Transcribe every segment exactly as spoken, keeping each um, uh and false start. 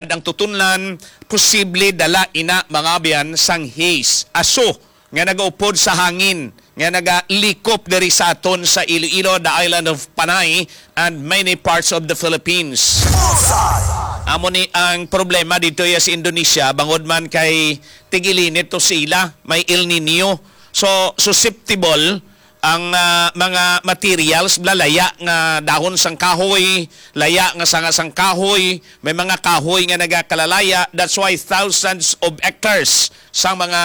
ang tutunlan, posible dala ina, mga abyan, sang haze, aso nga nagaupod sa hangin nga nagalikop diri sa aton sa Iloilo, the island of Panay, and many parts of the Philippines. Amo ni ang problema dito ya sa Indonesia, bangod man kay tig-ilinit to sila, may El Nino. So, susceptible ang, ah, mga materials, bala, laya nga dahon sang kahoy, laya nga sanga sang kahoy, may mga kahoy nga nagakalalaya. That's why thousands of hectares sang mga,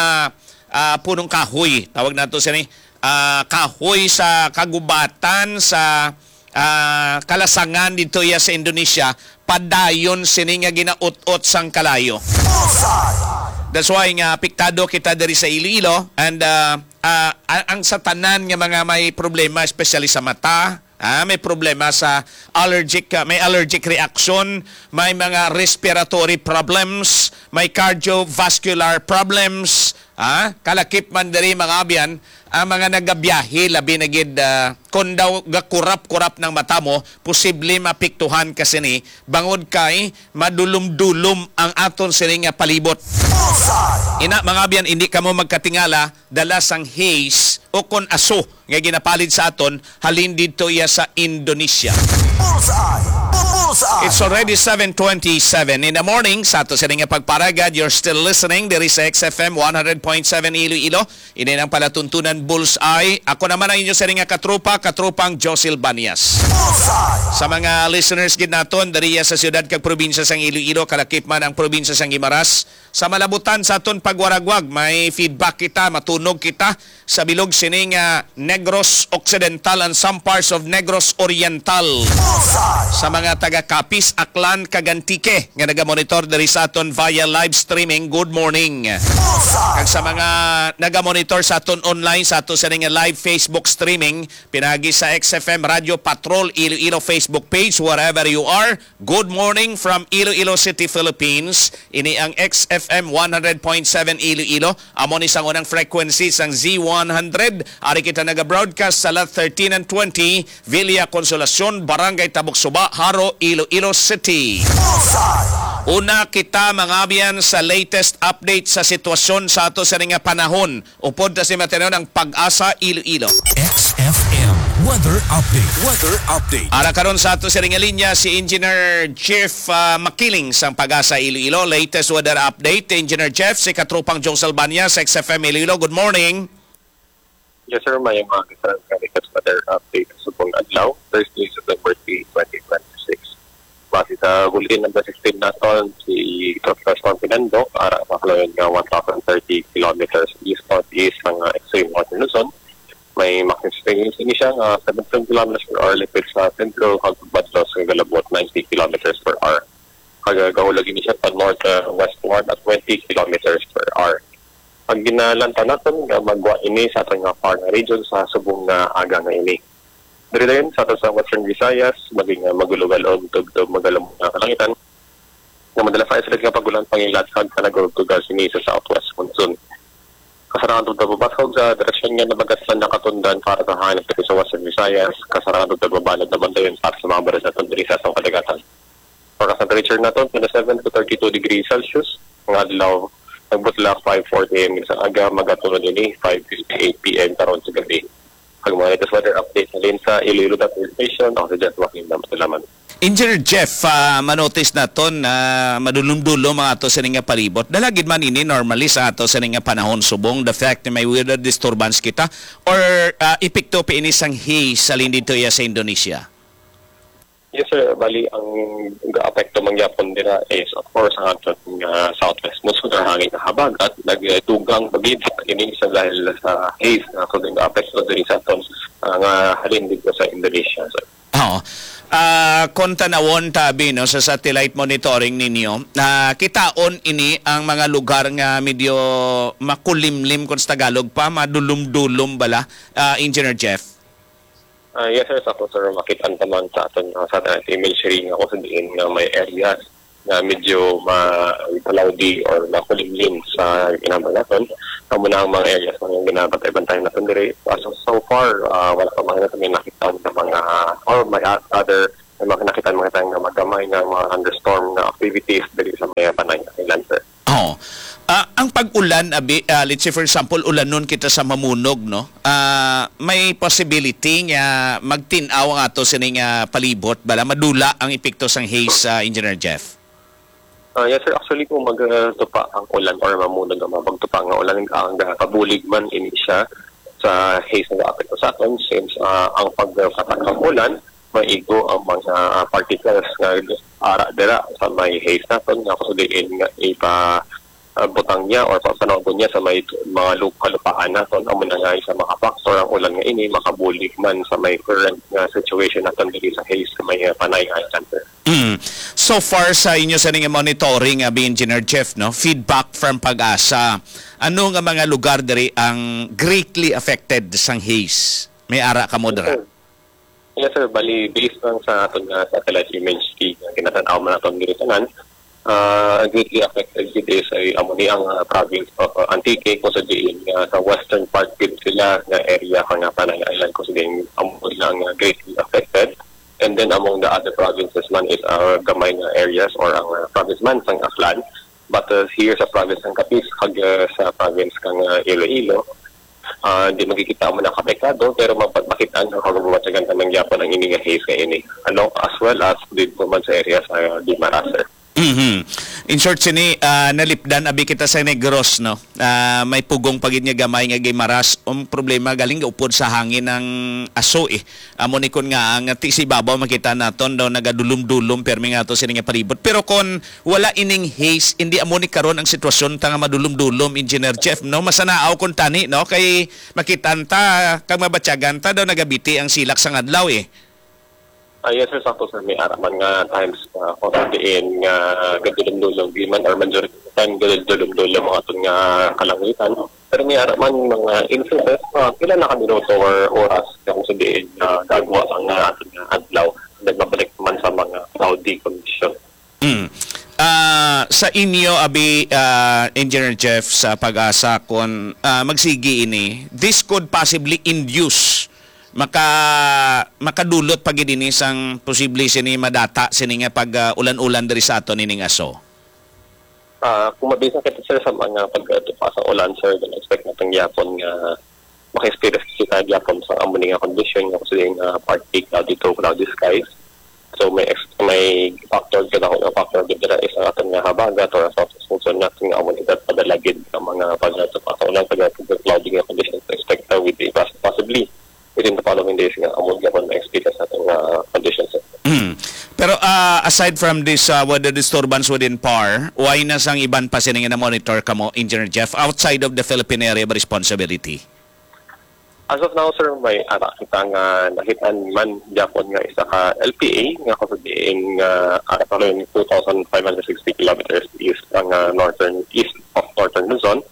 ah, punong kahoy, tawag nato sini, ah, kahoy sa kagubatan sa, ah, kalasangan dito ya sa Indonesia, padayon sini nga ginaut-ot sang kalayo. That's why nga apektado kita diri sa Iloilo, and, ah, ah, a-, ang sa tanan nga mga may problema, especially sa mata, ah, may problema sa allergic, ah, may allergic reaction, may mga respiratory problems, may cardiovascular problems, ah, kalakip man diri, mga abyan, ang mga nagabiyahe, labi na gid, ah, kon daw gakurap-kurap ng mata mo, posible maapektuhan ka sini, bangod kay madulom-dulom ang aton sini nga palibot. Ina, mga abyan, hindi kamo magkatingala, dala sang haze o kon aso nga ginapalid sa aton, halin didto iya sa Indonesia. Bullseye! Bullseye! It's already seven twenty-seven in the morning. Sa ato sini nga pagparagad, you're still listening diri sa X F M one hundred point seven Iloilo. Ini ang palatuntunan, Bullseye. Ako naman ang inyo sini nga katropa, katropang Josil Banyas. Bullseye! Sa mga listeners gid naton diri sa siyudad kag probinsya sang Iloilo, kalakip man ang probinsya sang Guimaras, sa malabutan sa aton pagwaragwag, may feedback kita, matunog kita sa bilog sini nga Negros Occidental and some parts of Negros Oriental. Sa mga taga Capiz, Aklan, kag Antique nga nagamonitor diri sa aton via live streaming, good morning. Kag sa mga nagamonitor sa aton online, sa ato sini nga live Facebook streaming, pinagi sa X F M Radio Patrol Iloilo Facebook page, wherever you are, Good morning from Iloilo City, Philippines. Ini ang X F M one hundred point seven Iloilo. Amo ni sang unang frequency sang Z one hundred. Ari kita naga-broadcast sa Lot thirteen and twenty, Villa Consolacion, Barangay Tabok Suba, Jaro, Iloilo City. Una kita, mga abyan, sa latest update sa sitwasyon sa ato sini nga panahon. Upod ta si Mateo ng Pag-asa Iloilo. X F M weather update. Weather update. Ara karon sa ato sa ring linya si Engineer Jeff, ah, Makiling sang Pag-asa Iloilo. Latest weather update, Engineer Jeff, si katropang Josel Banya sa X F M Iloilo. Good morning. Yes, sir. May mga kasal ka latest weather update sa subong adlaw, Thursday, September three, twenty twenty-six. Base sa bulletin number sixteen naton, si Tropical Storm Fernando, ara sa kalayo nga one thousand thirty kilometers east-northeast sang, ah, extreme northern Luzon. May maximum speed ini siya nga seventeen kilometers per hour, lipit sa sentro, kag badlong sa galabot, ninety kilometers per hour. Kag gahulag ini siya pa north, ah, westward at twenty kilometers per hour. Ang ginalantaw naton nga magwa ini sa aton nga far nga region sa subong nga aga nga ini. Diri dayon sa ato sa Western Visayas, maging, ah, magulogal o tubtob magalamok nga kalangitan nga madala sa isolated nga pag-ulan, pangilat kag panagurugtugal sini sa southwest monsoon. Kasarang tubtob babaskog sa direksyon nga nabagaslan nakatundan para sa hangin diri sa Western Visayas. Kasarang tubtob babalod naman dayon para sa mga baras naton diri sa atong kadagatan. Forecast temperature naton, twenty-seven to thirty-two degrees Celsius. Ang adlaw, nagbutla five forty A M sa aga, magatunod ini five fifty-eight P M karon sa gabi. Ang mga latest weather update halin sa Iloilo Weather Station, ako si Jeff Joaquin Dam. Salamat. Engineer Jeff, ah, manotice naton na madulom-dulom ang ato sini nga palibot. Dala gid man ini normally sa ato sini nga panahon subong the fact na may weather disturbance kita or, ah, epekto pa ini sang haze halin dito iya sa Indonesia? Yes, sir. Bali, ang ga-apekto man gyapon dira is, of course, ang aton nga southwest monsoon or hangin nga habagat, nagdugang bagid ini sa dahil sa haze nga aton nga apekto diri sa aton, ah, nga halin dito sa Indonesia, sir. Oo. Ah, kung tanawon tabi, no, sa satellite monitoring ninyo, ah, kitaon ini ang mga lugar nga medyo makulimlim, kung sa Tagalog pa, madulom-dulom bala, ah, Engineer Jeff? Ah, yes, sir. Sa ako, sir, makita naman sa aton, ah, satellite imagery nga kung sa diin nga may areas nga medyo ma-, cloudy or makulimlim sa ginambal naton. Amo na ang mga areas nga ginabantay-bantay naton diri. As of so far, ah, wala pa man naton may nakita nga mga, or may o-, other May mga nakita, mga tayo nga magamay nga mga thunderstorm nga activities diri sa may Panay Island, sir. Oh. Ah, ang pag-ulan, abi, ah, let's say for example, ulanon kita sa Mamunog, no? Ah, may possibility nga magtin-aw ang ato sining, ah, palibot, bala madula ang epekto sang haze, ah, Engineer Jeff. Ah, yes, sir. Actually, kung magtupa ang ulan or Mamunog nga magtupa nga ulan, ang, ah, kabulig man ini siya sa haze nga apekto sa aton, since, ah, ang pagpatak ang ulan, maigo ang mga, ah, particles nga ara dira sa may haze naton, nga kung diin nga ipa, ah, butang niya or pa-, panawagon niya sa may mga lu-, kalupaan naton, amo na nga isa mga factor ang ulan nga ini makabulig man sa may current nga situation naton diri sa haze sa may, ah, Panay Island, sir. Mm. So far sa inyo sa ning monitoring, abi, Engineer Jeff, no? Feedback from PAGASA. Ano nga mga lugar diri ang greatly affected sang haze? May ara kamo dira? Yes, sir. Bali, based lang sa aton nga satellite image feed nga ginatan-aw man naton diri tanan, ah, greatly affected gid is ay amo ni ang, ah, province of, ah, Antique, kung sa diin nga sa western part gid sila nga area kang, ah, Panay Island, kung sa diin amo nila ang, ah, greatly affected. And then among the other provinces man is, ah, gamay nga areas or ang, ah, province man sang Aklan. But, uh, here sa province ng Capiz, kag, uh, sa province kang, uh, Iloilo, uh, di makikita mo na kapektado, pero mapagmakitaan ang kagabuwat sa ganda ng Yapan ang ini nga haze nga ini. Ano, as well as dito man sa area sa Guimaras, sir. Mhm. In short, sini, ah, nalipdan abi kita sa Negros, no? Ah, may pugong pa gid nga gamay nga Guimaras. Ang problema, galing upod sa hangin ang aso, eh. Amo ni kun nga ang ti sa ibabaw makita naton daw nagadulom-dulom permi nga ato sini nga palibot. Pero kon wala ining haze, hindi amo ni karon ang sitwasyon ta nga madulom-dulom, Engineer Jeff, no? Masanaaw kon tani, no? Kay makitaan ta, kag mabatyagan ta daw nagabiti ang silak sang adlaw, eh. Ah, yes, sir, sakto, sir. May ara man nga times, ah, kung sa diin nga gadulom-dulom, di man, or majority of the time, gadulom-dulom ang aton nga kalangitan. Pero may ara man mga instances, ah, pila na ka minuto or oras, kung sa diin, ah, gagwa ang, ah, aton nga adlaw. Nagmabalik naman sa mga cloudy condition. Mm. Ah, sa inyo, abi, ah, Engineer Jeff, sa PAGASA, kung, ah, magsigi ini, this could possibly induce, maka-, makadulot pa gid ini sang posible sini madata sini nga pag, ah, ulan-ulan diri sa aton ining aso. Ah, kung mabisa kita, sir, sa mga pagtupa sa ulan, sir, then expect natin gyapon nga maka-experience kita gyapon sa amo ni nga condition nga kasi nga partly cloudy to cloudy skies. So may ex-, may factor, kadako nga factor gid dira is ang aton nga habagat or ang south monsoon natin nga amo ni that padala gid ang mga pagtupa sa ulan, pag cloudy nga conditions expected with the pos-, possibly within the following days nga amo gyapon ma-experience natin nga conditions, sir. Mm. Pero, ah, aside from this, ah, weather disturbance within PAR, wala na sang iban pa sini nga na-monitor kamo, Engineer Jeff, outside of the Philippine Area of Responsibility? As of now, sir, may ara kita nga nakit-an man gyapon nga isa ka L P A nga kung sa diin nga, ah, following two thousand five hundred sixty kilometers east ang, ah, northern, east of northern Luzon.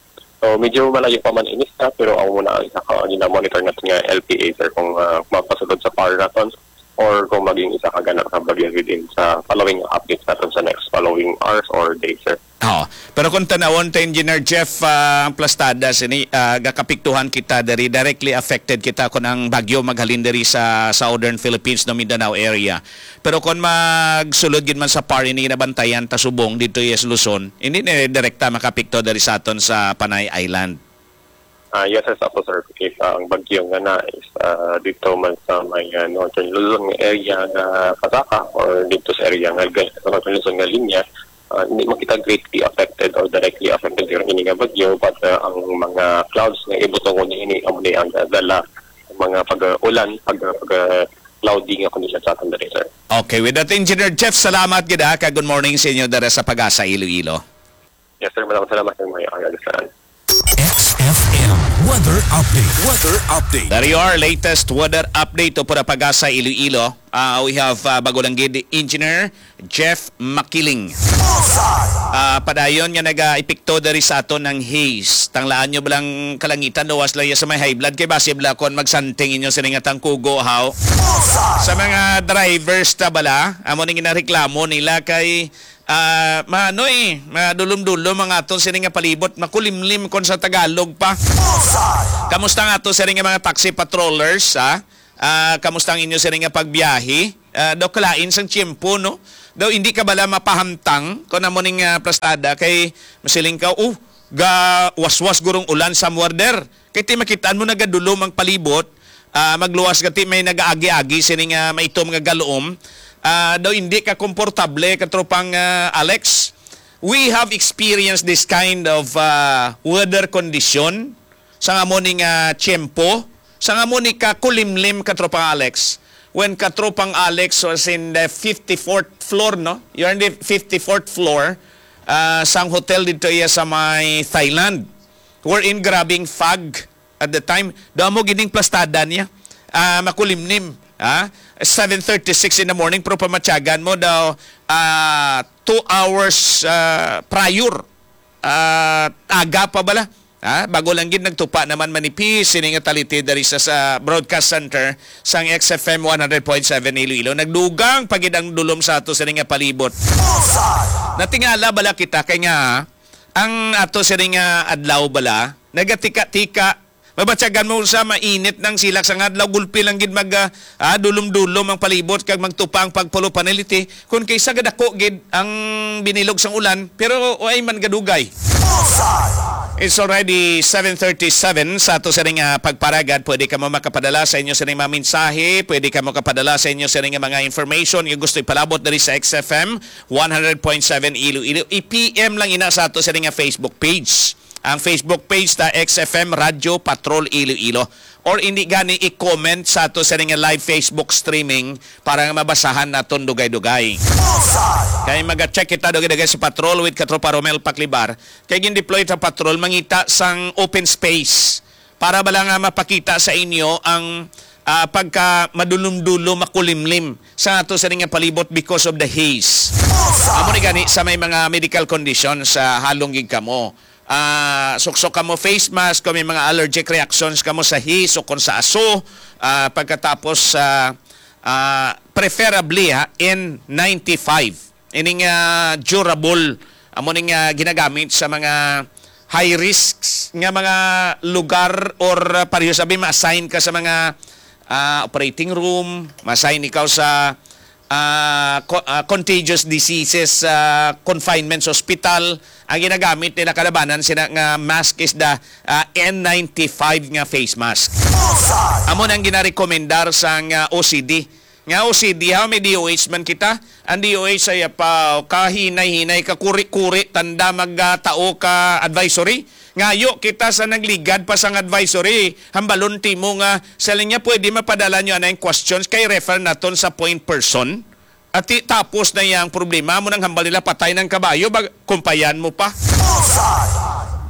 So, medyo malayo pa man ini siya, pero ang muna ang isa ka gina-monitor natin nga L P A, sir, kung, ah, mapasulod sa PAR naton or kung maging isa ka gana ka bagyo within sa following updates natin sa next following hours or days, sir. Oh, pero kung tanawon ta, Engineer Jeff, ah, ang plastada sini, ah, gakapiktuhan kita diri, directly affected kita kung ang bagyo maghalin diri sa Southern Philippines, no, Mindanao area. Pero kung magsulod gid man sa PAR ini ginabantayan ta subong dito sa Luzon, hindi na direkta makapikto diri sa aton sa Panay Island. Ah, yes, sir, sakto, sir. If ang bagyo nga na is, ah, dito man sa may, ah, Northern Luzon nga area nga pasaka or dito sa area nga ga-, sa Northern Luzon nga linya, ah, hindi makita greatly affected or directly affected yung ini nga bagyo, but, ah, ang mga clouds nga ibutongon niya ini, amo ni ang dala ang mga pag-ulan, pag, pag, cloudy nga condition sa aton diri, sir. Okay, with that, Engineer Jeff, salamat gid, ha, kag good morning sa inyo dara sa PAGASA Iloilo. Yes, sir. Maraming salamat, sir. May ang X F M weather update. Weather update. There you are, latest weather update upod sa PAGASA Iloilo. Ah, we have, ah, bago lang gid, Engineer Jeff Makiling. Ah, padayon nga naga-epekto diri sa aton ang haze. Tanglaan nyo ba lang kalangitan, daw was lang sa may high blood kay basi bala kon magsanting inyo sini nga tangkugo, haw. Sa mga drivers ta bala, amo ning ginareklamo nila kay, ah, maano eh, madulom-dulom ang aton sini nga palibot, makulimlim kon sa Tagalog pa. Kamusta ang ato sini nga mga taxi patrollers, ha? Ah, kamusta ang inyo sini nga pagbiyahe? Ah, daw kalain sang tiyempo, no? Daw hindi ka bala mapahamtang kung amo ning, ah, plastada kay masiling ka, "Oh, ga waswas gurong ulan somewhere there." Kay ti makitaan mo nagadulom ang palibot, ah, magluwas ka ti may nagaagi-agi sini nga maitom nga galom. Ah, daw hindi ka komportable, katropang, ah, Alex. We have experienced this kind of, ah, weather condition sa amo ni nga tiyempo, sa amo ni kakulimlim, katropang Alex. When katropang Alex was in the fifty-fourth floor, no? You're in the fifty-fourth floor, ah, sang hotel dito iya sa may Thailand. Wherein grabing fog at the time. Daw mo gining plastada niya. Ah, makulimlim. Ah, seven thirty-six in the morning, pero pamatyagan mo daw, ah, two hours, ah, prior. Ah, aga pa bala. Ha? Bago lang gid nagtupa naman manipis sini nga taliti dari sa, sa broadcast center sang X F M one hundred point seven Iloilo. Nagdugang pa gid ang dulom sa ato sini nga palibot. Natingala bala kita kay nga ang ato sini nga adlaw bala nagatika-tika. Mabatyagan mo sa mainit ng silak sa nga adlaw, gulpi lang gid mag, ah, ah, dulom-dulom ang palibot kag magtupa ang pagpulo panaliti. Kung kaysa gadako gid ang binilog sang ulan, pero way man gadugay. It's already seven thirty-seven sa ato sining, ah, pagparagad. Pwede kamo makapadala sa inyo sining mga mensahe, pwede kamo kapadala sa inyo sining mga information nga gusto ipalabot diri sa X F M one hundred point seven Iloilo. I-P M lang ina sa ato sining nga Facebook page. Ang Facebook page ta X F M Radyo Patrol Iloilo. Or hindi gani i-comment sa ato sining nga live Facebook streaming para nga mabasahan naton dugay-dugay. Kay maga-check kita dugay-dugay sa patrol with Katropa Romel Paklibar. Kay gin-deploy sa patrol, mangita sang open space para bala nga mapakita sa inyo ang, ah, pagka madulom-dulom, makulimlim sa ato sining nga palibot because of the haze. Amo ni gani sa may mga medical conditions, ah, halong gid kamo. Ah, suksok kamo face mask kung may mga allergic reactions kamo sa haze o kung sa aso. Ah, pagkatapos, ah, ah, preferably, ha, N ninety-five. Ining, ah, durable, amo ning, ah, ginagamit sa mga high risks nga mga lugar or, ah, pareho sabi ma-assign ka sa mga, ah, operating room, ma-assign ikaw sa, ah, co-, ah, contagious diseases, ah, confinement sa hospital. Ang ginagamit nila kalabanan sina nga mask is the, ah, N ninety-five nga face mask. Amo nang ginarekomendar sang, ah, O C D. Nga O C D, ha, may D O H man kita. Ang D O H ay pa kahinay-hinay, kakuri-kuri, tanda magtao ka advisory. Ngayo kita sa nagligad pa sang advisory. Hambalon timo nga sa linya pwede mapadala nyo anay questions kay refer naton sa point person. At ti-, tapos na yang problema mo nang hambal nila patay ng kabayo, bag-, kumpayan mo pa.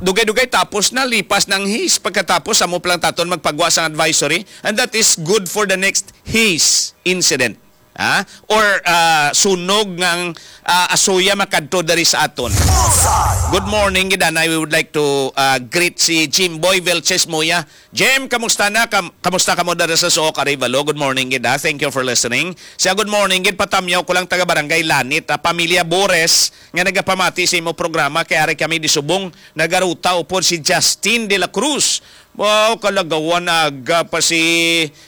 Dugay-dugay tapos na, lipas ng haze. Pagkatapos, amo pa lang taton magpagwa sang advisory. And that is good for the next haze incident. Ha? Or, ah, sunog ng, ah, asuya makadto diri sa aton. Good morning, gid anay. We would like to, ah, greet si Jimboy Velches Muya. Jem, kamusta na? Kam-, kamusta kamo dara sa Sook, Arevalo? Good morning, gid, ha? Thank you for listening. Siya, good morning, gid. Patamyaw ko lang, taga Barangay Lanit, ah, pamilya Bores, nga nagapamati sa imo programa. Kay ari kami di subong nagaruta upod si Justin de la Cruz. Wow, kalagawan aga pa si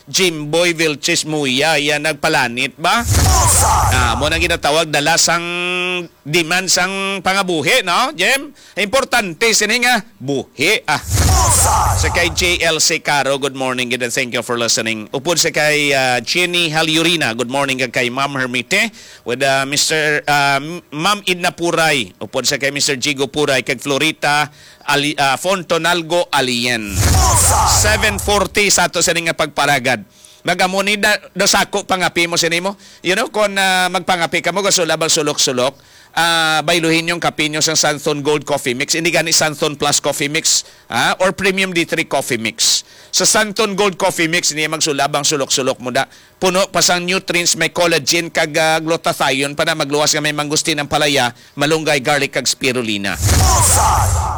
Jimboy Vilches Muya, iya nagpalanit ba? Ah, mo nang ginatawag dala sang demand sang pangabuhi, no, Jem? Importante sini nga buhi, ah. Sa kay J L C Caro, good morning, gid, and thank you for listening. Upod sa kay, ah, Jenny Halyurina, good morning, kag kay Ma'am Hermite, with, ah, Mister, ah, M-, Ma'am Edna Puray, upod sa kay Mister Jigo Puray, kag Florita, Ali-, ah, Fontonalgo Alien. Seven forty sa ato sini nga pagparagad. Nagamo ni da, da sako pangapi mo sini mo. You know, kung, ah, magpangapi ka mo, gasulab ang sulok-sulok, ah, bayluhin yung kape nyo sa Santon Gold Coffee Mix. Hindi gani Santon Plus Coffee Mix, ah, or Premium D three Coffee Mix. Sa Santon Gold Coffee Mix, hindi magsulab ang sulok-sulok mo da. Puno pa sang nutrients, may collagen kag, ah, glutathione pa na, magluwas nga may mangustin ang palaya, malunggay, garlic kag spirulina.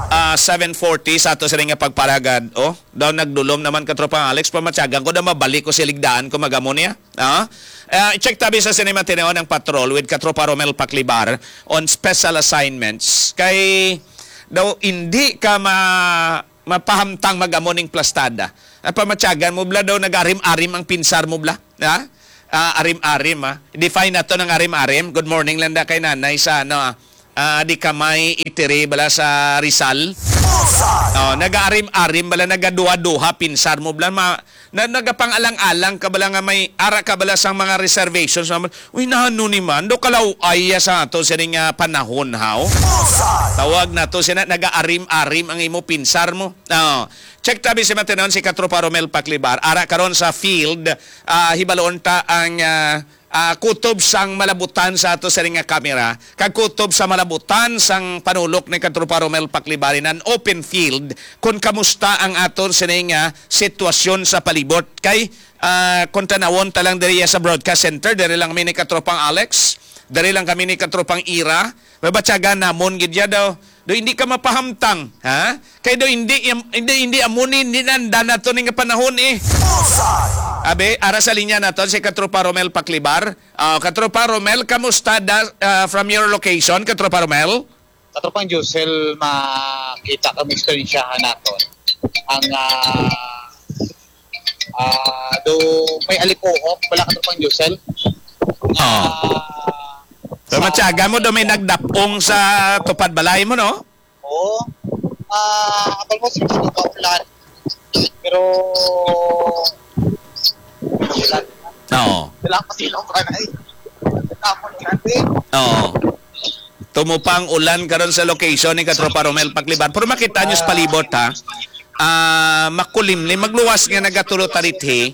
Ah, seven forty sa ato sini nga pagparagad. Oh, daw nagdulom naman, Katropang Alex, pamatyagan ko na mabalik ko siligdaan ko magamo niya. Ah? Ah, i-check tabi sa Cinema Tineo ng Patrol with Katropa Romel Paklibar on special assignments. Kay daw hindi ka ma-, mapahamtang mag-amo ning plastada. Ang pamatyagan mo bala daw nag-arim-arim ang pinsar mo bala. Ha? Ah, arim-arim, ha? Define nato ng arim-arim. Good morning lang da kay nanay sa ano, ah, ah, di ka may itiri bala sa Rizal. Oh, nag-arim-arim bala, nagaduha-duha pinsar mo bala. Ma, na, nagapang-alang-alang ka bala nga may ara ka bala sang mga reservations naman. Uy, nano ni man, do kalaw-ay sa ato sining, ah, panahon, haw? Tawag na to sina, nagaarim-arim ang imo pinsar mo. Oh, check tabi si Matinon, si Katropa Romel Paklibar. Ara karon sa field, ah, hibaloon ta ang, ah, ah, kutob sang malabutan sa ato sining nga kamera, kag kutob sa malabutan sang panulok ni Katropa Romel Paklibar in an open field, kung kamusta ang aton sining nga sitwasyon sa palibot. Kay, ah, kung tanawon ta lang diri sa broadcast center, diri lang kami ni Katropang Alex, diri lang kami ni Katropang Ira, mabatyagan namon gid ya daw. Do hindi ka mapahamtang, ha? Kay do hindi, hindi, hindi amo ni, hindi nanda na to ning panahon, eh. Abi, ara sa linya naton si Katropa Romel Paklibar. Ah, Katropa Romel, kamusta da, ah, from your location, Katropa Romel? Katropang Josel, makita kami, eksperyensyahan naton ang, ah, ah, do may alipuok, wala, Katropang Josel. Oo. Ah, So, sa matyaga mo do may nagdapong sa tupad balay mo, no? Oo. Ah, almost hindi ka ulan. Pero, ulan. Oo. Wala pa silang kanay. Tapon natin. Oo. Tumupang ulan karon sa location ni Katropa Romel Paklibar. Pero makita nyo sa palibot, ha? Ah, makulimlim, magluwas nga nagatulo tarithi.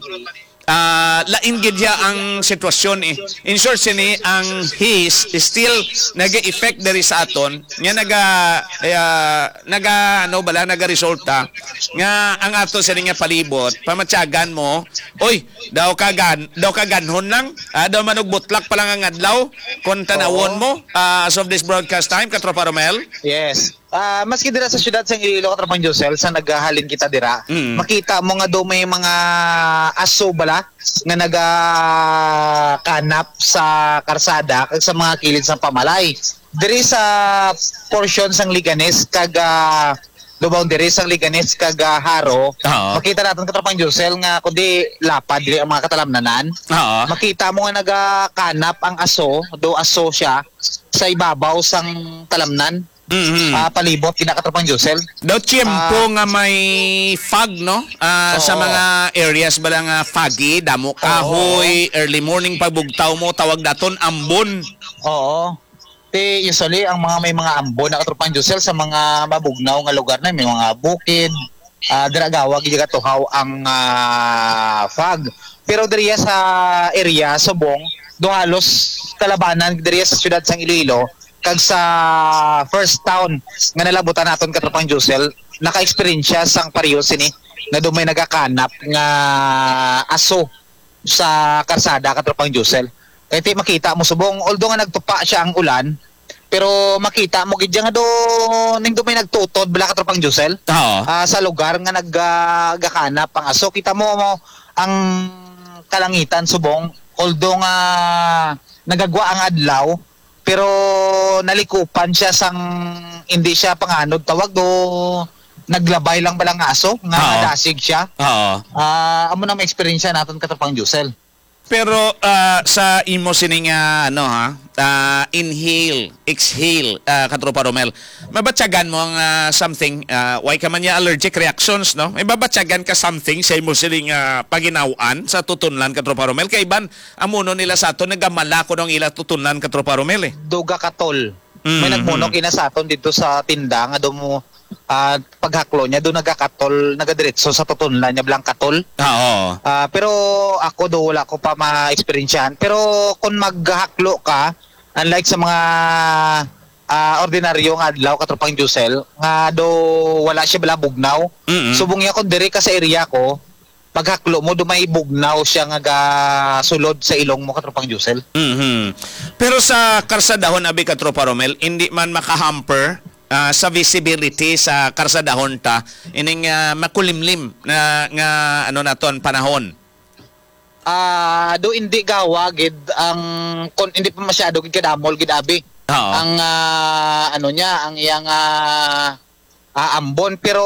Ah, lain gid ya ang sitwasyon, eh. In short, sini ang haze is still nag-effect diri sa aton, nga naga, ah, naga, ano bala, nagaresulta nga ang ato sini nga palibot, pamatyagan mo, oy, daw ka gan-, daw ka ganhon lang, ah, daw manugbutlak pa lang ang adlaw, kung tanawon Oo. mo, ah, as of this broadcast time, Katropa Romel? Yes. Ah, maski dira sa siyudad sang Iloilo, Katropang Josel, sa naghahalin kita dira, Mm. makita mo nga do may mga aso bala nga nagakanap sa karsada kag sa mga kilid sang pamalay. Diri sa portion sang Leganes kag, ah, do boundary sang Leganes kag, ah, Jaro, Oo. makita naton, Katropang Josel, nga kundi lapad diri ang mga katalamnanan. Oo. Makita mo nga nagakanap ang aso, do aso siya, sa ibabaw sang talamnan. Mhm. Ah, palibot, kina Katropang Josel. Daw tiyempo Ah. nga may fog, no? Ah, sa Oo. mga areas bala nga foggy, damo Oo. kahoy, early morning pagbugtaw mo, tawag daton ambon. Oo. Ti usually ang mga may mga ambon na, Katropang Josel, sa mga mabugnaw nga lugar na, may mga bukid, ah, dira gawag gatuhaw ang, ah, fog. Pero diriya sa area Subong, do halos kalabanan diriya sa siyudad sang Iloilo kag sa first town nga nalabutan naton, Katropang Josel, naka-eksperyensya sang pareho sini nga do may nagakanap nga aso sa karsada, Katropang Josel. Kay ti makita mo Subong, although nga nagtupa siya ang ulan, pero makita mo gid nga do ning do may nagtutod bala, Katropang Josel. Oo. Ah, sa lugar nga nag, ah, gakanap ang aso. Kita mo, mo ang kalangitan Subong, although nga nagagwa ang adlaw, pero nalikupan siya sang hindi siya panganod tawag do naglabay lang bala nga aso nga Oo. nadasig siya. Oo. Ah, amo na may eksperyensya naton, Katropang Josel. Pero, ah, sa imo sini nga, ano, ha, ah, inhale, exhale, ah, Katropa Romel, mabatyagan mo ang, ah, something, ah, why ka man niya allergic reactions, no? May babatyagan ka something sa imo sini nga paginaw-an sa tutunlan, Katropa Romel? Kay iban, amo no nila sa ato, nagamala ko nung ila tutunlan, Katropa Romel, eh. Duga katol. Mm, May nagmunok mm. ina sa aton dito sa tinda nga do mo, ah, paghaklo niya do nagakatol, nagadiretso sa tutunlan niya bala ang katol. Ah, oo. Ah, pero ako do wala ko pa ma-eksperyensyahan. Pero kung maghaklo ka, unlike sa mga, ah, ordinaryo nga adlaw, Katropang Josel, nga do wala siya bala bugnaw. Mm-mm. Subong niya kung diri ka sa area ko, paghaklo mo, do may bugnaw siya nga gasulod sa ilong mo, Katropang Josel. Mhm. Pero sa karsadahon, abi, Katropa Romel, hindi man makahamper, ah, sa visibility sa karsadahon ta, ining, ah, makulimlim na nga, ano naton, panahon. Ah, do hindi gawa gid ang, kon hindi pa masyado gid kadamol gid, abi. Oo. Ang, ah, ano niya, ang iyang, ah, ah, ambon. Pero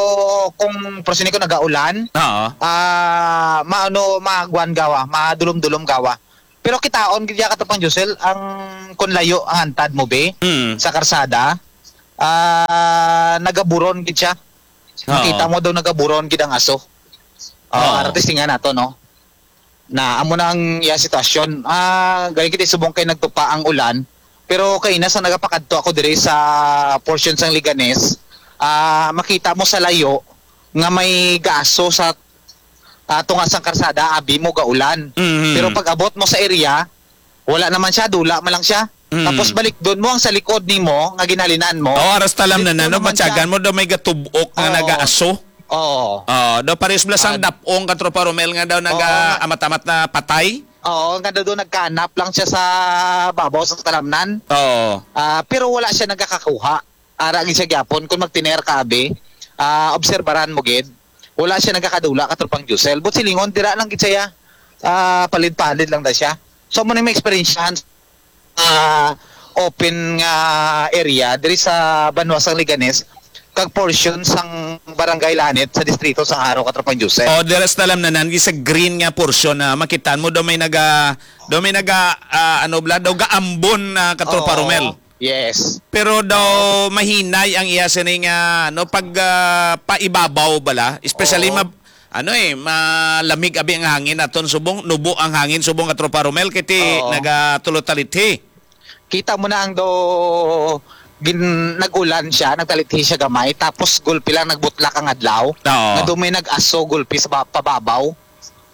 kung, pero sini ko nagaulan, Oo. ah, maano, maagwan gawa, madulom-dulom gawa. Pero kitaon gid ya, Katropang Josel, ang kun layo ang antad mo, be, Mm. sa karsada, ah, nagaburon gid siya. Oo. Makita mo daw nagaburon gid ang aso. Oo, Oo. Artist nga nato, no? Na amo na ang iya sitwasyon. Ah, gani kita subong kay nagtupa ang ulan, pero kaina sa nagapakadto ako diri sa portion sang Leganes, ah, makita mo sa layo nga may gaaso sa, ah, tunga sang karsada, abi mo gaulan. Mhm. Pero pag abot mo sa area, wala naman siya, dula man lang siya. Mm. Tapos balik doon mo ang sa likod nimo nga ginhalinan mo. Oh, aras talam na Dito na, no? naman siya. Matyagan mo daw may gatubok nga Oo. nagaaso. Oo. Oh, daw pares bala sang Ah, dapong, Katropa Romel, nga daw Oo, nga nagaamat-amat na patay. Oo, nga daw nagkanap lang siya sa babaw sa talamnan. Oo. Ah, pero wala siya nagakakuha. Ara gid siya gyapon kung magtiner ka, abi. Ah, obserbaran mo gid. Wala siya nagakadula, Katropang Josel. But silingon, dira lang gid siya. Ah, palid-palid lang da siya. So, mo na may eksperyensyahan ah, open nga area diri sa banwa sang Leganes kag portion sang Barangay Lanit sa distrito sang Jaro, Katropang Joseph. Oh, dira sa talamnan, gi sa green nga portion na makitaan mo, daw may naga, daw may naga, ah, ano bala, daw gaambon na, Katropa Oo. Romel. Yes. Pero daw mahinay ang iya sini nga, no, pag, ah, paibabaw bala, especially Oo. ma-, ano eh, malamig abi ang hangin aton subong, nubo ang hangin subong, Katropa Romel, kay ti Oo. nagatulotalithi. Kita mo na ang do gin-, nag-ulan siya, nagtalithi siya gamay, tapos gulpi lang nagbutlak ang adlaw. Oo. Nga do may nag-aso gulpi sa ba-, pababaw.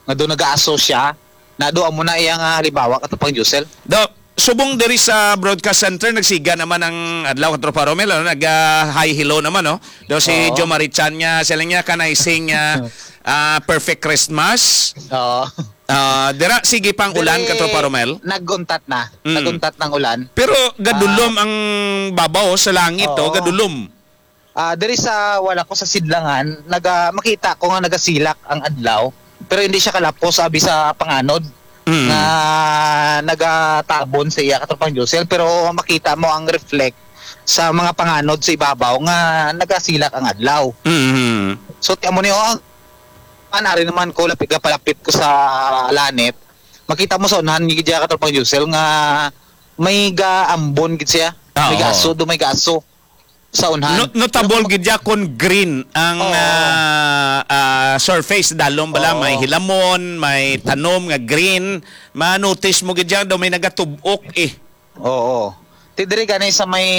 Nga do nag-aaso siya. Na do amo na iya nga halimbawa, Katropang Josel. Do, subong diri sa Broadcast Center, nagsiga naman ang adlaw, Katropa Romel, ano, nag, ah, hi, hello naman, no? Do si Oo. Jo Marie Chan nga, sila nga, kanay sing, ah, ah, Perfect Christmas. Oo. Ah, dira, sige pang ulan, Diri, Katropa Romel. Nag-untat na. Mm. Nag-untat ng ulan. Pero gadulom Ah. ang babaw sa langit, oh, Oo. gadulom. Ah, diri sa wala ko sa sidlangan, naga-, makita ko nga nagasilak ang adlaw, pero hindi siya kalapos, abi sa panganod Mm. nga nagatabon sa iya, Katropang Josel, pero makita mo ang reflect sa mga panganod sa ibabaw nga nagasilak ang adlaw. Mm. So, ti amo ni, oh, anari naman ko, lapit ka palapit ko sa Lanit, makita mo sa unahan ni Katropang Josel nga may gaambon gid siya. Ah, May oo. gaso, do may gaso sa unahan. No-, notable Pero gid ya kon green ang, Oo. ah, ah, surface. Dalom bala, Oo. may hilamon, may tanom nga green. Ma-notice mo gid ya daw may nagatubok eh. Oo. Ti diri gani sa may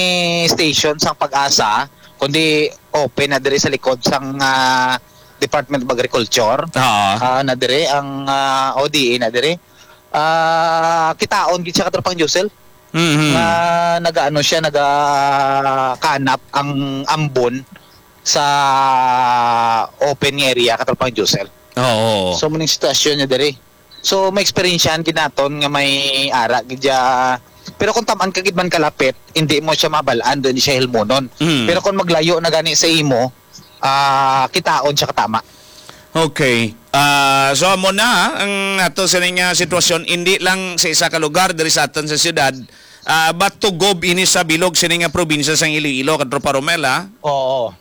station sang Pag-asa, kundi open na diri sa likod sang, ah, Department of Agriculture. Oo. Ah, na diri ang, ah, O D A na diri. Ah, kitaon gid siya, Katropang Josel. Mhm. Nga nagaano siya, nagakanap ang ambon sa open nga area, Katropang Josel. Oo. So, muning sitwasyon niya diri. So, may eksperyensyahan gid naton nga may ara gid siya. Pero kung taman ka gid man kalapit, hindi mo siya mabal-an, doon siya hilmonon. Mm. Pero kung maglayo na gani sa imo, ah, kitaon siya katama. Okay. Ah, so amo na ang ato sining, ah, sitwasyon, hindi lang sa isa ka lugar diri sa aton sa siyudad, ah, but tugob ini sa bilog sini nga probinsya sang Iloilo, Katropa Romel, ha? Oo.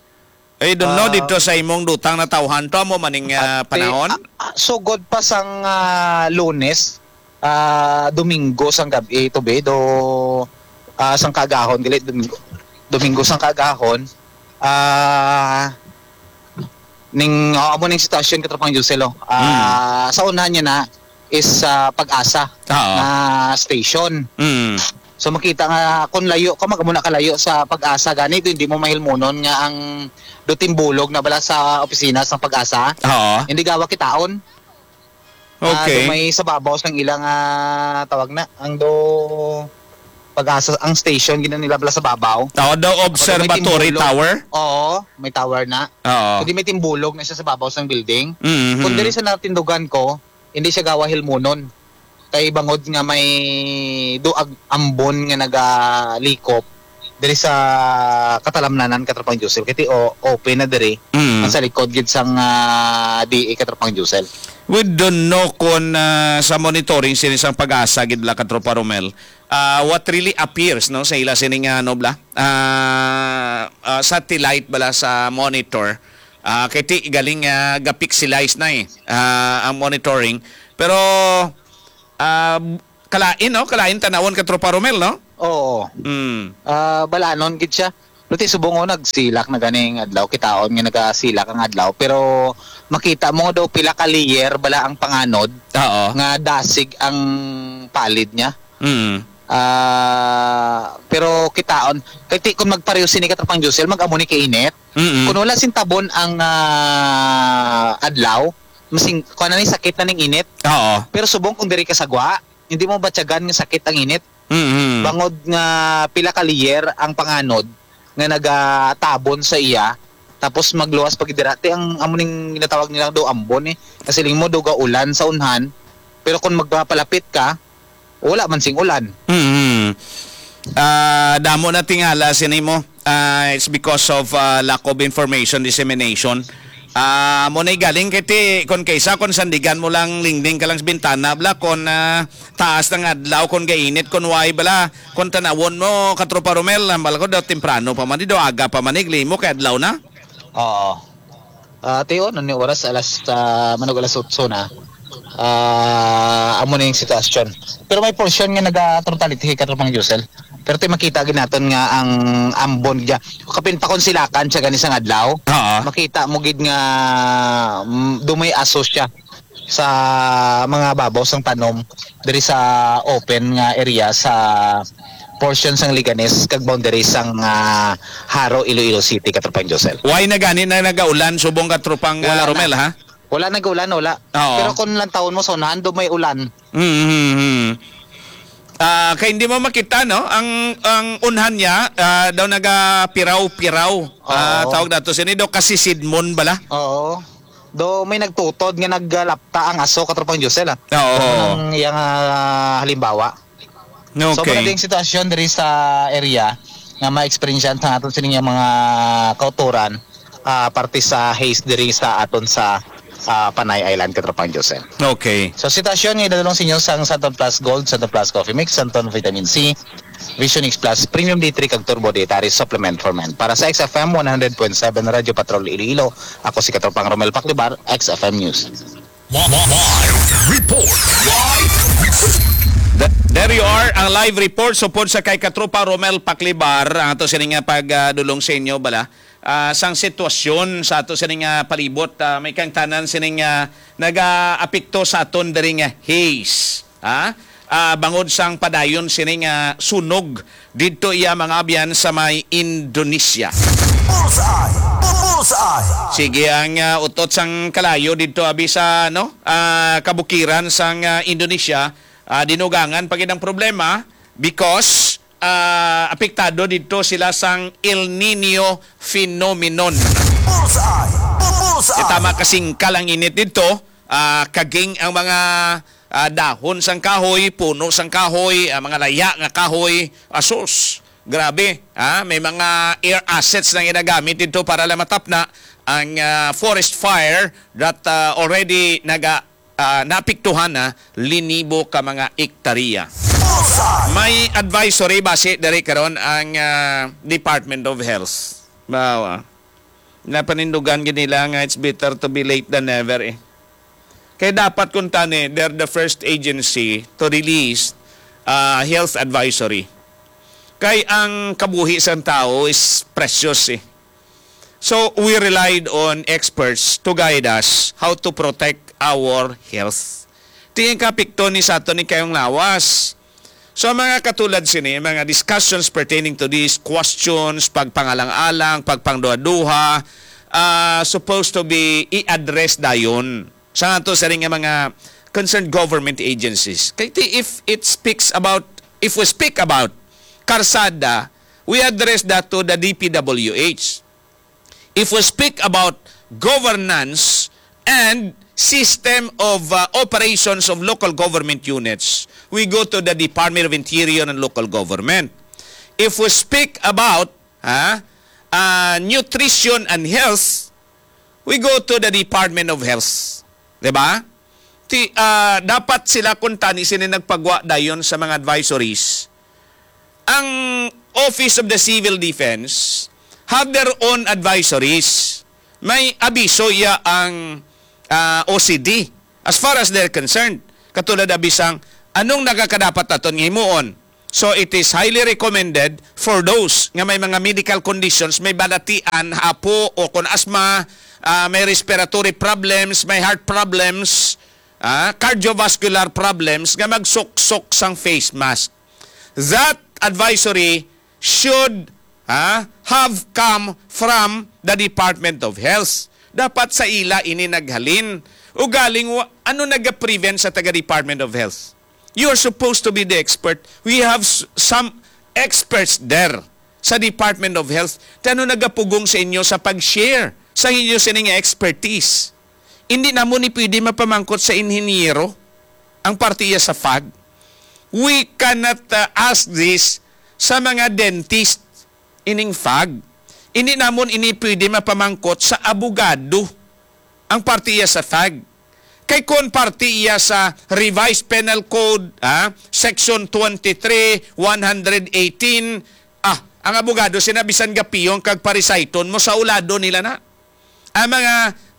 I don't know, Ah. dito sa imong dutang natawhan to, amo maning, ah, Ate, panahon? ah, ah, sugod pa sang, ah, Lunes, ah, Domingo sang gab-i, to be, do, ah, sang kaagahon, gali, Domingo, Domingo sang kaagahon, ah, ning, oh, amo ning sitwasyon, Katropang Josel, oh. Ah, Hmm. sa unahan niya na is, ah, Pag-asa Oo. na station. Hmm. So, makita nga, kung layo ka, mag-, muna ka layo sa Pag-asa, ganito, hindi mo mahilmunon nga ang do timbulog na bala sa opisina sa Pag-asa. Oo. Hindi gawa kitaon. Ah, Okay. do may sa babaw sang ilang, ah, tawag na, ang do Pag-asa, ang station, gina nila bala sa babaw. Oo, daw Ako, do may Observatory timbulog. Tower? Oo, may tower na. Oo. Kundi may timbulog na siya sa babaw sang building. Mhm. Kung diri sa natindugan ko, hindi siya gawa hilmunon. Kay bangod nga may duag ambon nga nagalikop, diri sa katalamnanan, Katropang Josel. Kay ti o-, open na diri. Mm. Ang sa likod gid sang, ah, D A, Katropang Josel. We don't know kung, ah, sa monitoring sini sang PAGASA gid bala, Katropa Romel, ah, what really appears, no, sa ila sini nga, ano bala, ah, ah, satellite bala sa monitor, ah, kay ti galing, ah, ga-pixelize na, eh, ah, ang monitoring. Pero, ah, kalain, no? Kalain tanawon, Katropa Romel, no? Oo. Mm. Ah, balanon gid siya. Pero ti subong, oh, nagsilak na ganing adlaw, kitaon nga nagasilak ang adlaw, pero makita mo daw pila ka layer bala ang panganod Oo. nga dasig ang palid niya. Mm. Ah, pero kitaon, kay ti, kung magpareho sini, Katropang Josel, mag-amo ni kainit. Mm-mm. Kung wala sing tabon ang, ah, adlaw, masing, kuwan na ni, sakit na ning init. Oo. Pero subong kung diri ka sa gwa, hindi mo batyagan nga sakit ang init. Mm-hmm. Bangod nga pila ka layer ang panganod nga nagatabon sa iya, tapos magluwas pa gid dira. Ti ang amo ning ginatawag nila daw ambon, eh. Kasi ling mo daw ga ulan sa unhan, pero kung magpapalapit ka, wala man sing ulan. Mm-hmm. Ah, damo na tingala sini mo. Ah, it's because of, ah, lack of information dissemination. Ah, mo na galing kay ti, kon kaysa, kon sandigan mo lang, lingding ka lang sa bintana, bala, kon, ah, taas ng adlaw, kon gainit, kon way, bala, kon tanawon mo, Katropa Romel, hambal ko daw temprano pa man, di daw aga pa man, igli mo kay adlaw na. Oo. Ah, ti, oh, ano ni oras? Alas, ah, manog alas otso na. Ah, amo na yung sitwasyon. Pero may portion nga naga-totality, Katropang Josel. Pero ti makita gid naton nga ang ambon gid. Kapin pa kon silakan siya gani sang adlaw. Oo. Makita mo gid nga, mm, dumay aso siya sa mga babaw sang tanom diri sa open nga area sa portion sang Leganes kag boundary sang, ah, Jaro, Iloilo City, Katropang Josel. Why na gani na nagaulan subong, Katropang, ah, Wala na. Romel, ha? Wala nag-ulan, wala. Oo. Pero kung lantawon mo sa unahan, do may ulan. Mm-hmm. Ah, kay hindi mo makita, no? Ang, ang unhan niya, ah, daw nagapiraw-piraw. Ah, Oo. Tawag nato sini daw kasi sidmon bala. Oo. Do may nagtutod nga naggalapta ang aso, Katropang Josel, ah. Oo. Ang iyang, ah, halimbawa. So, Okay. mao na din sitwasyon diri sa area nga ma-experience ang aton sining mga kauturan, ah, parte sa haze diri sa aton sa, ah, Panay Island, Katropang Josel. Okay. So, sitwasyon nga idadulong sa inyo sang Santon Plus Gold, Santon Plus Coffee Mix, Santon Vitamin C, Vision X Plus, Premium D three kag Turbo Dietary Supplement for Men. Para sa X F M one hundred point seven Radyo Patrol Iloilo, ako si Katropang Romel Paclibar, X F M News. Live report. Live report. Th-, there you are, ang live report supod sa kay Katropa Romel Paclibar, ang ato sini nga pagdulong sa inyo bala, ah, sang sitwasyon sa ato sini nga palibot, ah, may kangtanan sini nga nagaapekto sa aton diri nga haze, ha? Ah, bangod sang padayon sini nga sunog didto iya mga abyan sa may Indonesia. Bullseye! Bullseye! Sige ang, ah, utot sang kalayo didto abi sa, no, ah, kabukiran sang, ah, Indonesia. Ah, dinugangan pa gid ang problema because, ah, apektado didto sila sang El Nino phenomenon. Bullseye! Bullseye! Tama kasingkal ang init didto. Ah, kaging ang mga, ah, dahon sang kahoy, puno sang kahoy, ah, mga laya nga kahoy. Asus, grabe, ah, may mga air assets na ginagamit dito para lang matapna ang, ah, forest fire that, ah, already naga, ah, naapektuhan na linibo ka mga ektarya. May advisory base diri karon ang, ah, Department of Health. Bawa. Napanindugan gid nila nga it's better to be late than never, eh. Kay dapat kuntani, they're the first agency to release, ah, health advisory. Kay ang kabuhi sang tawo is precious, eh. So, we relied on experts to guide us how to protect our health. Ti ang kaapekto ni sa aton ni kayong lawas. So, mga katulad sini, mga discussions pertaining to these questions, pagpangalang-alang, pagpangduha-duha, ah, supposed to be i-address dayon sa ato sini nga mga concerned government agencies. Kay ti-, if it speaks about, if we speak about karsada, we address that to the D P W H. If we speak about governance and system of, uh, operations of local government units, we go to the Department of Interior and Local Government. If we speak about, ha, uh, nutrition and health, we go to the Department of Health. Di ba? Ti, ah, dapat sila kuntani sini nagpagwa dayon sa mga advisories. Ang Office of the Civil Defense have their own advisories. May abiso iya ang, ah, O C D as far as they're concerned. Katulad abisang, anong nagakadapat naton nga himuon? So, it is highly recommended for those nga may mga medical conditions, may balatian, hapo, o kon asma, ah, may respiratory problems, may heart problems, ah, cardiovascular problems, nga magsuksok sang face mask. That advisory should, ah, have come from the Department of Health. Dapat sa ila ini naghalin. Ugaling, wa-, ano naga-prevent sa taga Department of Health? You are supposed to be the expert. We have s-, some experts there sa Department of Health. Ti ano nagapugong sa inyo sa pag-share sa inyo sini nga expertise? Hindi namo ni pwede mapamangkot sa inhinyero ang parte iya sa fag. We cannot, uh, ask this sa mga dentist ining fag. Hindi namon ini pwede mapamangkot sa abogado ang parte iya sa fag. Kay kon parte iya sa Revised Penal Code, ah, Section twenty-three, one hundred eighteen, ah, ang abogado sina bisan gapiyong kag parisayton mo sa ulado nila na. Ang mga,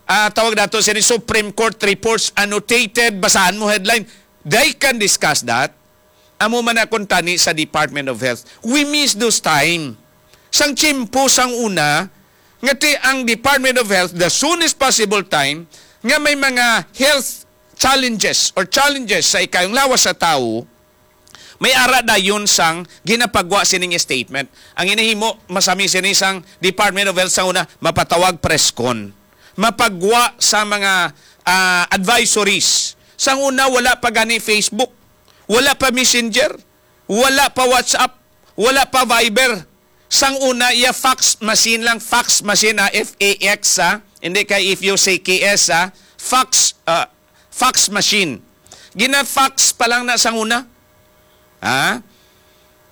ah, tawag nato sini Supreme Court reports annotated, basahan mo headline, they can discuss that. Amo man na kuntani sa Department of Health. We miss those time. Sang tiyempo sang una, nga ti ang Department of Health, the soonest possible time, nga may mga health challenges or challenges sa ikayong lawas sa tawo, may ara dayon sang ginapagwa sining statement. Ang ginahimo, masami sini sang Department of Health sang una, mapatawag press con. Mapagwa sa mga, ah, advisories. Sang una, wala pa gani Facebook, wala pa Messenger, wala pa WhatsApp, wala pa Viber. Sang una, iya fax machine lang, fax machine, ah, F A X, ah. Hindi kay F U C K S, ah. Fax, ah, fax machine. Gina-fax pa lang na sang una. Ha?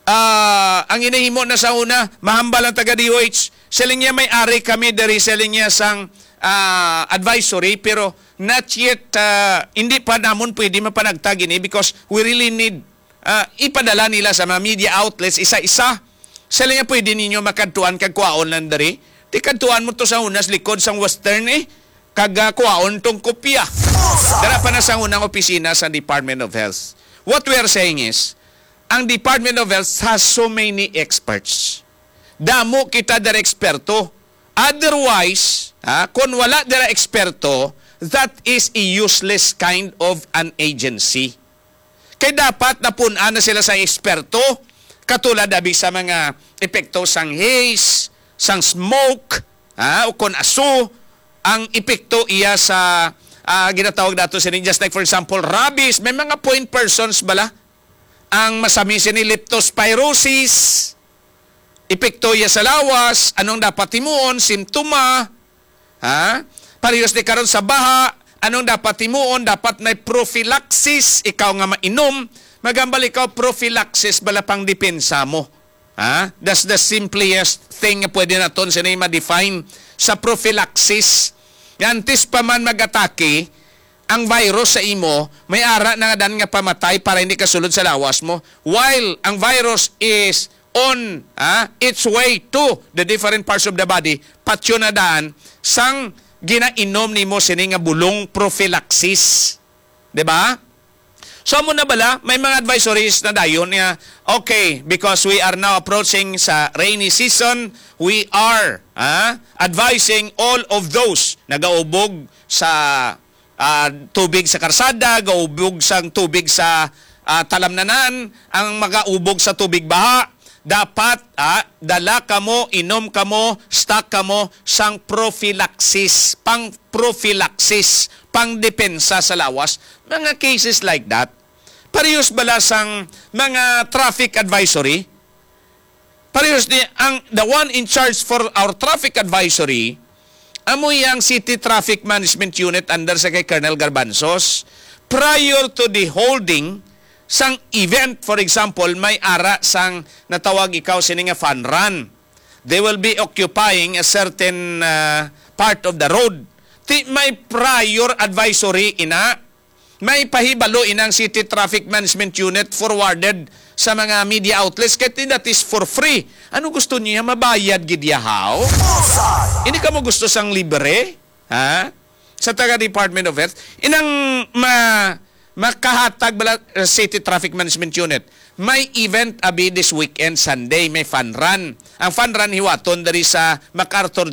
Ah, ang ginahimo na sa una, mahambal ang taga D O H. Siling niya, may ari kami diri, siling niya, sang, ah, advisory, pero not yet, ah, hindi pa namon pwede mapanagtag ini because we really need, ah, ipadala nila sa mga media outlets isa-isa. Siling niya, pwede ninyo makadtuan kag kuhaon lang diri. Di kadtuan mo to sa una sa likod sang Western, eh. Kag, ah, kuhaon tong kopya. Dara pa na sa unang opisina sa Department of Health. What we are saying is, ang Department of Health has so many experts. Damo kita dira eksperto. Otherwise, ha, kung wala dira eksperto, that is a useless kind of an agency. Kay dapat napun-an na sila sa eksperto, katulad abi sa mga epekto sang haze, sang smoke, ha, o kon aso ang epekto iya sa, ah, ginatawag nato sini, just like, for example, rabies. May mga point persons bala ang masami sini, leptospirosis, epekto iya sa lawas, anong dapat himuon, simptoma, ha? Parehas ni karon sa baha, anong dapat himuon? Dapat may prophylaxis, ikaw nga mainom, magambal ikaw, prophylaxis bala pang depensa mo. Ha? That's the simplest thing nga pwede naton sini ma-define sa prophylaxis. Nga antes pa man mag-atake ang virus sa imo, may ara na nga dan nga pamatay para hindi kasulod sa lawas mo. While ang virus is on, ah, its way to the different parts of the body, patyon na daan sang ginainom nimo sini nga bulong prophylaxis. Di ba? So, amo na bala, may mga advisories na dayon nga, okay, because we are now approaching sa rainy season, we are, ah, advising all of those nagaubog sa, ah, tubig sa karsada, gaubog sang tubig sa, ah, talamnanan, ang magaubog sa tubig baha, dapat, ah, dala kamo, inom kamo, stock kamo sang prophylaxis, pang prophylaxis, pang depensa sa lawas, mga cases like that. Parehas bala sang mga traffic advisory? Parehas ni ang, the one in charge for our traffic advisory, amo yang City Traffic Management Unit under sa kay Colonel Garbanzos. Prior to the holding sang event, for example, may ara sang natawag ikaw sini nga fun run. They will be occupying a certain uh, part of the road. Ti may prior advisory ina, may pahibalo inang City Traffic Management Unit forwarded sa mga media outlets kay ti that is for free. Ano gusto niya? Mabayad gid yahaw? Hindi ka mo gusto sang libre? Ha? Sa taga Department of Health? Inang ma makahatag bala uh, City Traffic Management Unit. May event abi this weekend, Sunday, may fun run. Ang fun run hiwaton diri sa MacArthur